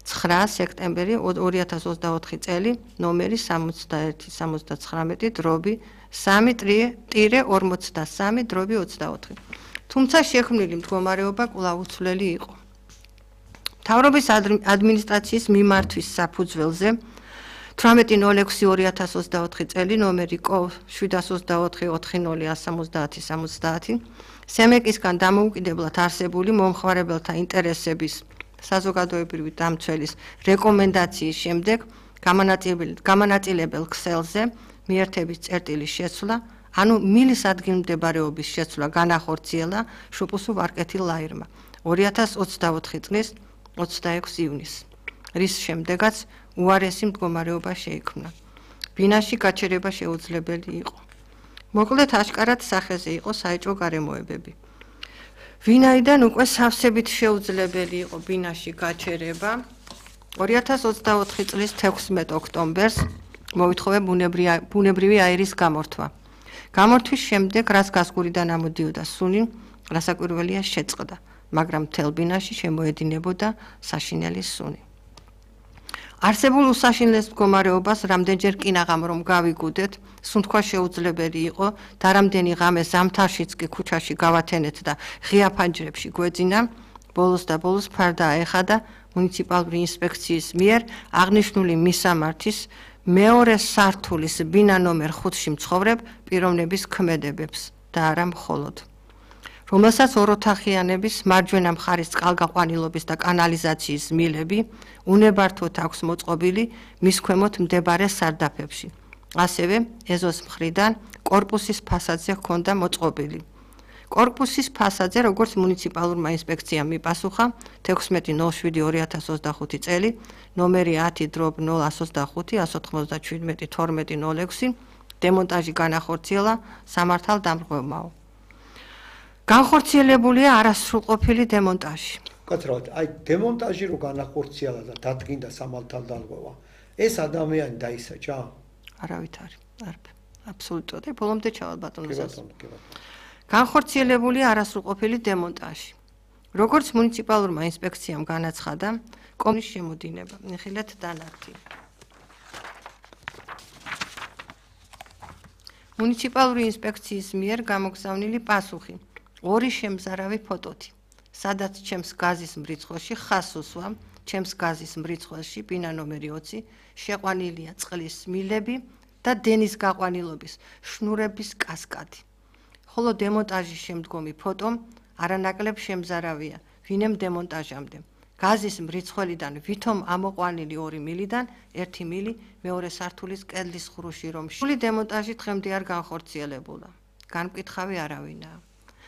9 სექტემბერი 2024 წელი ნომერი 61-3-3-53/24. თუმცა შექმნილი მდგომარეობა კვლავ უცვლელი იყო. მთავრობის ადმინისტრაციის მიმართვის საფუძველზე 18.06.2024 წელი ნომერი K724-40170-70 სემეკისგან დამოუკიდებლად არსებული მომხმარებელთა ინტერესების საზოგადოებრივი დამცველის რეკომენდაციის შემდეგ გამანაწილებელ ქსელზე მიერთების წერტილის შეცვლა, ანუ მილის ადგილმდებარეობის შეცვლა განახორციელა შუპუსუ ვარკეთი ლაირმა 2024 წლის 26 ივნისს, რის შემდეგაც უარესი მდგომარეობა შეიქმნა. ბინაში გაჩერება შეუძლებელი იყო. მოკლედ აშკარად სახეზე იყო საეჭვო გარემოებები. ვინაიდან უკვე სავსებით შეუძლებელი იყო ბინაში გაჩერება, 2024 წლის 16 ოქტომბერს მოითხოვე ბუნებრივი აირის გამორთვა. გამორთვის შემდეგ, რაც გასგურიდან ამოდიოდა სუნი, რასაკვირველია შეწყდა, მაგრამ მთელ ბინაში შემოედინებოდა საშინელი სუნი. არსებულ უსაშინლეს მდგომარეობას რამდენჯერ კინაღამ რომ გავიგუდეთ, სუნთქვა შეუძლებელი იყო და რამდენი ღამე ზამთარშიც კი ქუჩაში გავათენეთ და ღია ფანჯრებში გვეძინა, ბოლოს ფარდა აეხადა მუნიციპალური ინსპექციის მიერ აღნიშნული მისამართის მეორე სართულის ბინა ნომერ 5-ში მცხოვრებ პიროვნების ქმედებებს და არა მხოლოდ, რომელსაც ოროთახიანების მარჯვენა მხარის წყალგაყვანილობის და კანალიზაციის მილები უნებართვოდ აქვს მოწყობილი მის ქვემოთ მდებარე სარდაფებში. ასევე ეზოს მხრიდან კორპუსის ფასადზე ჰქონდა მოწყობილი. კორპუსის ფასადზე, როგორც მუნიციპალურმა ინსპექციამ მიპასუხა 16.07.2025 წელი ნომერი 10/025-197-12 დემონტაჟი განახორციელა სამართალ დამრღვევმაო. განხორციელებულია არასრულყოფილი დემონტაჟი. კაცრავად, აი დემონტაჟი რო განახორციელა და დადგინდა სამართალ დამრღვევა, ეს ადამიანი დაისაჯა? არავითარი, აბსოლუტურად. ბოლომდე ჩავალ ბატონოს. განხორციელებულია არასრულყოფილი დემონტაჟი. როგორც მუნიციპალურმა ინსპექციამ განაცხადა, კომის შემოდინება, ნახილეთ დანართი. მუნიციპალური ინსპექციის მიერ გამოგზავნილი პასუხი. 2 შემზარავი ფოტოთი, სადაც ჩემს გაზის მრიცხველში ხას უსვა, ჩემს გაზის მრიცხველში ბინა ნომერი 20 შეყვანილია წყლის მილები და დენის გაყვანილობის შნურების კასკადი. ხოლო დემონტაჟის შემდგომი ფოტო არანაკლებ შემზარავია ვინემ დემონტაჟამდე. გაზის მრიცხველიდან ვითომ ამოყვანილი 2 მილიდან 1 მილი მეორე სართულის კედლის ხრუში რომ შული დემონტაჟი დღემდე არ განხორციელებულა. განმკითხავი არავინაა.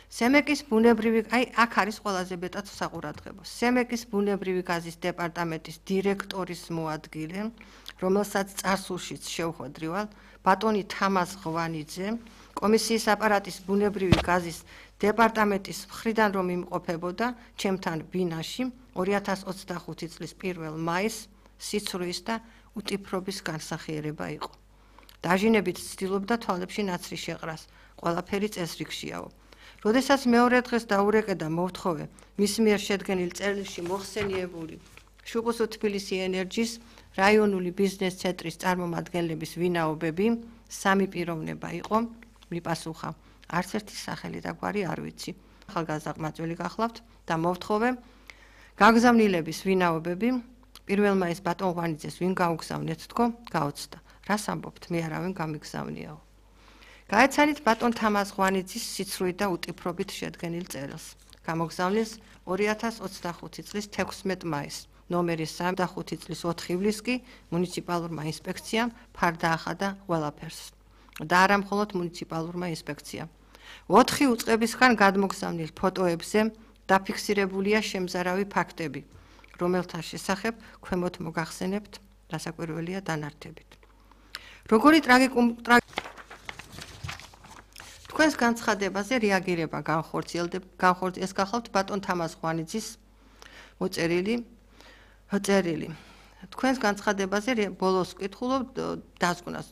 სემეკის ბუნებრივი, აქ არის ყველაზე მეტად საყურადღებო. სემეკის ბუნებრივი გაზის დეპარტამენტის დირექტორის მოადგილე, რომელსაც წარსულშიც შევხვედრივალ, ბატონი თამაზ ღვანიძე, კომისიის აპარატის ბუნებრივი გაზის დეპარტამენტის მხრიდან რომ იმყოფებოდა ჩემთან ბინაში 2025 წლის 1 მაისს სიცრუის და უტიფრობის განსახიერება იყო. დაჟინებით ცდილობდა თვალებში ნაცრი შეყრას, ყველაფერი წესრიგშიაო. როდესაც მეორე დღეს დაურეკე და მოვთხოვე მის მიერ შედგენილ წერილში მოხსენიებული შუპუსუ თბილისი ენერჯის რაიონული ბიზნეს ცენტრის წარმომადგენლების ვინაობები, 3 პიროვნება იყო, მიპასუხა, არც ერთი სახელი და გვარი არ ვიცი. ახალგაზრდა გახლავთ და მოვთხოვე გაგზავნილების ვინაობები, პირველმა ეს ბატონ ღვანიძეს ვინ გაუგზავნეთ თქო, გაოცდა. რას ამბობთ, მე არავინ გამიგზავნიაო. გაეცანით ბატონ თამაზ ღვანიძის სიცრუით და უტიფრობით შედგენილ წერილს. გამოგზავნილს 2025 წლის 16 მაისს, ნომერი 35 წლის 4 ივლისს კი მუნიციპალურმა ინსპექციამ ფარდა ახადა ყველაფერს. და არა მხოლოდ მუნიციპალურმა ინსპექციამ. 4 უწყებისგან გადმოგზავნილ ფოტოებზე დაფიქსირებულია შემზარავი ფაქტები, რომელთა შესახებ ქვემოთ მოგახსენებთ, რასაკვირველია დანართებით. როგორი თქვენს განცხადებაზე რეაგირება განხორციელდება, ეს გახლავთ ბატონ თამაზ ღვანიძის მოწერილი წერილი. თქვენს განცხადებაზე ბოლოს ვკითხულობ დაზგუნას.